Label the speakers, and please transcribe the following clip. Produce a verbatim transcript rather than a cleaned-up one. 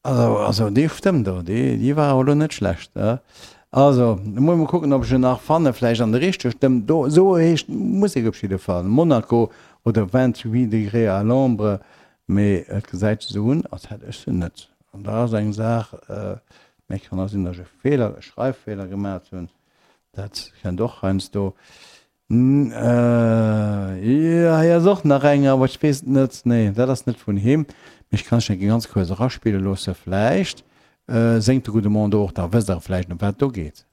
Speaker 1: Also, also déi Stëmm do, déi, déi war awer elo net schlecht, ne? Also, da muss ech mol kucken, ob ech en nach fannen, vläicht an der richteger Stëmm. Do, esou heescht d'Musek op jidde Fall, Monaco oder vingt-huit degrés à l'ombre, mee et gesäit sech esou un, als hätt ech se net. An dat ass eng Saach, mee kann och sinn, datt ech e Feeler, e Schreiffeeler gemat hunn, dat kënnt och heiansdo. Jo, hei ass och nach eng, awer ech weess et net. Nee, dat ass net vun him. Mee ech kann ech eng ganz kuerz eraspille loosse. Vläicht séngt de gudde Mann do och, da wësst Der vläicht, ëm wat et do geet.